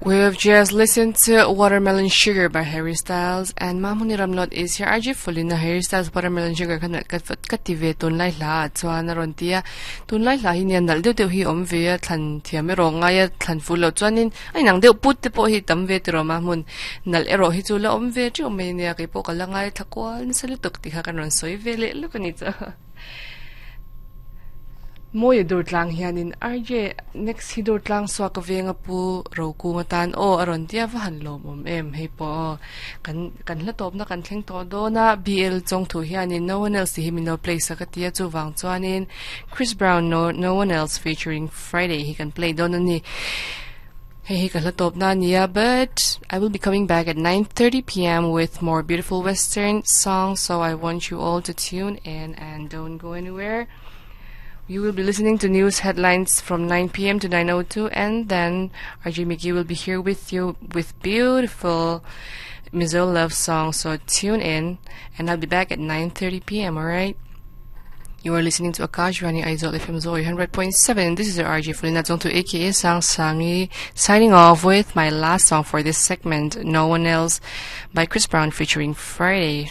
We've just listened to Watermelon Sugar by Harry Styles and Mahmuni Ramlot is here. RJ Fulina Harry Styles Watermelon Sugar khan ka ka ti ve tun lai hla chuan a rawn ti a. Tun lai hla hi nia nalh deuh deuh hi awm ve a thlan thiam erawh ngai a thlan ful loh chuanin a inang deuh put te pawh hi tam ve tiraw Mahmun nalh erawh hi chu la awm ve teuh mai nia keipawh ka la ngai thla kual nasa lutuk tih kha kan rawn sawi ve leh lawk a ni chu. Mawi dur tlang hianin RJ next hi dur tlang suak ka venga pu Rokung atan aw a rawn tia va han lawmawm em hei pawh aw kan kan hla tawpna kan thleng tawh dawn a BL chawng thu hianin no one else tih hi min lo play sak a tia chuvang chuanin Chris Brown no no one else featuring Friday hi kan play dawn a ni. Hei hi ka hla tawpna a nia but I will be coming back at 9:30 pm with more beautiful western songs so I want you all to tune in and don't go anywhere. You will be listening to news headlines from 9 p.m. to 9:02 and then RJ Mickey will be here with you with beautiful Mizo love songs. So tune in and I'll be back at 9:30 p.m. all right? You are listening to Akashvani Aizawl FM Zoe 100.7. This is your RJ Fulina Zongtu aka Sang Sangi signing off with my last song for this segment, No One Else by Chris Brown featuring Friday.